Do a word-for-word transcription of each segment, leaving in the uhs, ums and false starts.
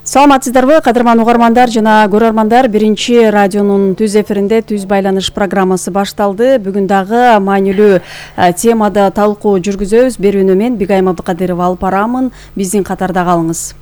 Саламатсыздарбы, кадырман угармандар жана көрөрмандар. Биринчи радионун түз эфиринде түз байланыш программасы башталды. Бүгүн дагы маанилүү темада талкуу жүргүзөбүз. Берүүнү мен Бигайым Абдыкадырова алып барамын. Биздин катарда калыңыз.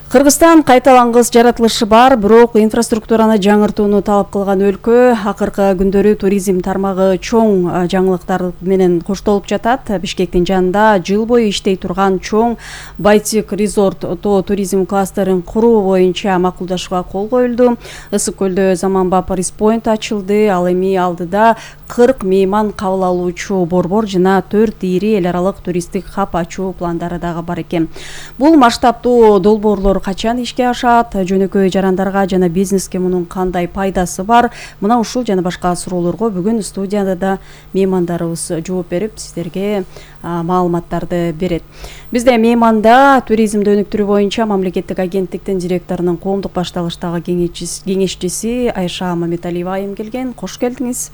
Кыргызстан кайталангыс жаратылышы бар, бирок инфраструктураны жаңыртууну талап кылган өлкө. Акыркы күндөрү туризм тармагы чоң жаңылыктар менен коштолуп жатат. Бишкектин жанында жыл бою иштей турган чоң Байтик Резорт тоо туризм кластерин куруу боюнча макулдашууга кол коюлду. Ысык көлдө заманбап Респойнт ачылды. Ал эми алдыда кырк мейман кабыл алуучу борбор жана төрт ири эл аралык туристтик хаб ачуу пландары дагы бар экен. Бул масштабтуу долбоорлор качан ишке ашат, жөнөкөй жарандарга жана бизнеске мунун кандай пайдасы бар? Мына ушул жана башка суроолорго бүгүн студияда да меймандарыбыз жооп берип, сиздерге маалыматтарды берет. Бизде мейманда туризмди өнүктүрүү боюнча мамлекеттик агенттиктин директорунун коомдук башталыштагы кеңешчиси Айша Мамедалиева айым келген. Кош келдиңиз.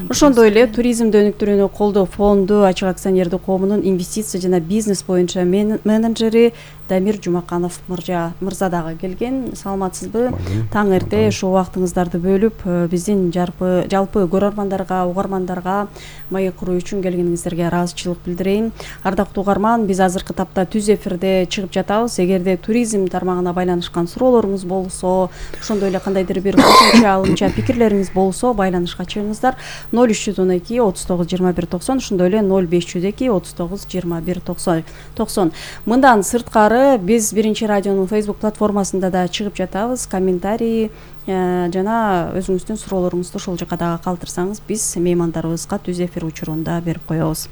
Ошондой эле туризмди өнүктүрүүнү колдоо фонду ачык акционердик коомунун инвестиция жана бизнес боюнча менеджери Дамир Жумаканов мырза дагы келген. Саламатсызбы? Таң эрте ушул убактыңыздарды бөлүп биздин жалпы жалпы көрөрмандарга, угармандарга маек куруу үчүн келгениңиздерге ыраазычылык билдирейин. Ардактуу угарман, биз азыркы тапта түз эфирде чыгып жатабыз. Эгерде туризм тармагына байланышкан суроолоруңуз болсо, ошондой эле кандайдыр бир кошумча алымча пикирлериңиз болсо, байланышка чыгыңыздар. ноль үч жүз он эки отуз тогуз жыйырма бир токсон, ошондой эле ноль беш жүз эки отуз тогуз жыйырма бир токсон. Мындан сырткары биз биринчи радионун Facebook платформасында да чыгып жатабыз. Комментарий жана өзүңүздүн суроолоруңузду ошол жака дагы калтырсаңыз, биз меймандарыбызга түз эфир учурунда берип коебуз.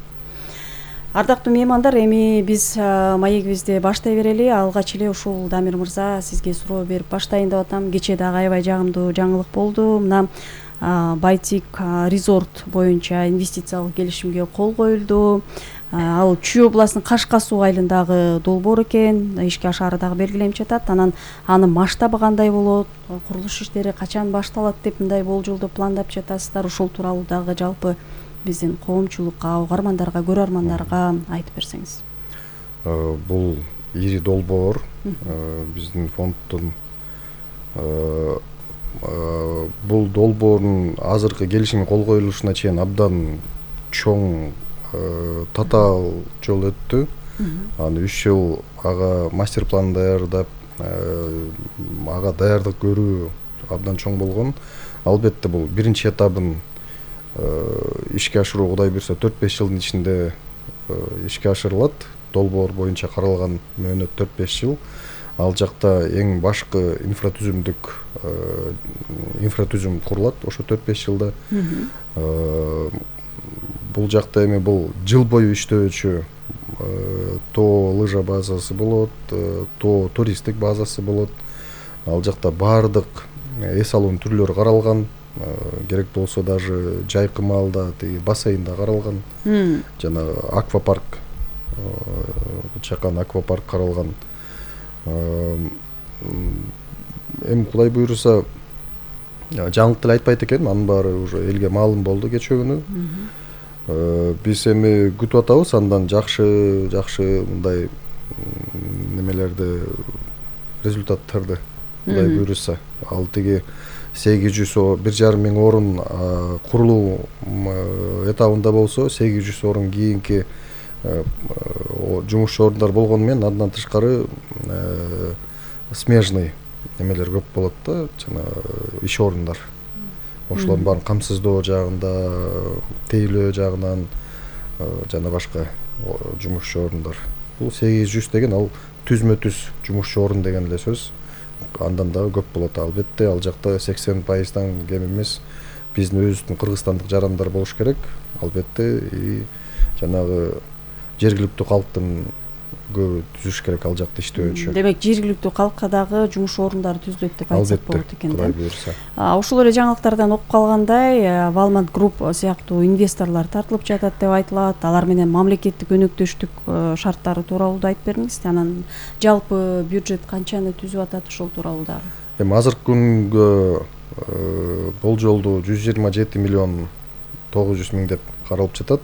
Ардактуу меймандар, эми биз маегибизди баштай берели. Алгач эле ушул Дамир мырза, сизге суроо берип баштайын деп атам. Кечээ дагы аябай жагымдуу жаңылык болду. Мына Байтик Резорт боюнча инвестициялык келишимге кол коюлду. Ал Чүй областынын Кашка суу айылындагы долбоор экен, ишке ашаары дагы белгиленип жатат. Анан анын масштабы кандай болот, курулуш иштери качан башталат деп мындай болжолду пландап жатасыздар. Ушул тууралуу дагы жалпы биздин коомчулукка, угармандарга, көрөрмандарга айтып берсеңиз. Бул ири долбоор биздин фонддун бул долбоордун азыркы келишимге кол коюлушуна чейин абдан чоң татаал жол өттү. Аны үч жыл ага мастер план даярдап, ага даярдык көрүү абдан чоң болгон. Албетте бул биринчи этабын ишке ашыруу Кудай буйрса төрт беш жылдын ичинде ишке ашырылат. Долбоор боюнча каралган мөөнөт төрт беш жыл. Ал жакта эң башкы инфратүзүмдүк инфратүзүм курулат ошо төрт беш жылда. Бул жакта эми бул жыл бою иштөөчү тоо лыжа базасы болот, тоо туристтик базасы болот. Ал жакта баардык эс алуунун түрлөрү каралган. Керек болсо даже жайкымалда тиги бассейнда каралган. Жана аквапарк, чакан аквапарк каралган. Эми Кудай буйруса жаңылык деле айтпайт экенмин, анын баары уже элге маалым болду кечээ күнү. Биз эми күтүп атабыз андан жакшы жакшы мындай немелерди, результаттарды Кудай буйруса. Ал тиги сегиз жүз бир жарым миң орун курулуу этабында болсо, сегиз жүз орун кийинки жумушчу орундар болгону менен андан тышкары смежный немелер көп болот да, жана иш орундар. Ошолордун баарын камсыздоо жагында, тейлөө жагынан жана башка жумушчу орундар. Бул сегиз жүз деген ал түзмө түз жумушчу орун деген эле сөз. Андан дагы көп болот. Албетте ал жакта сексен пайыздан кем эмес биздин өзүбүздүн кыргызстандык жарандар болуш керек. Албетте и жанагы жергиликтүү калктын көбү түзүш керек ал жакта иштөөчү. Демек жергиликтүү калкка дагы жумуш орундары түзүлөт деп айтсак болот экен да. Буйруса. Ошол эле жаңылыктардан окуп калгандай, Valmont Group сыяктуу инвесторлор тартылып жатат деп айтылат. Алар менен мамлекеттик өнөктөштүк шарттары тууралуу да айтып бериңиз. Анан жалпы бюджет канчаны түзүп атат ошол тууралуу дагы. Эми азыркы күнгө болжолдуу жүз жыйырма жети миллион тогуз жүз миң деп каралып жатат.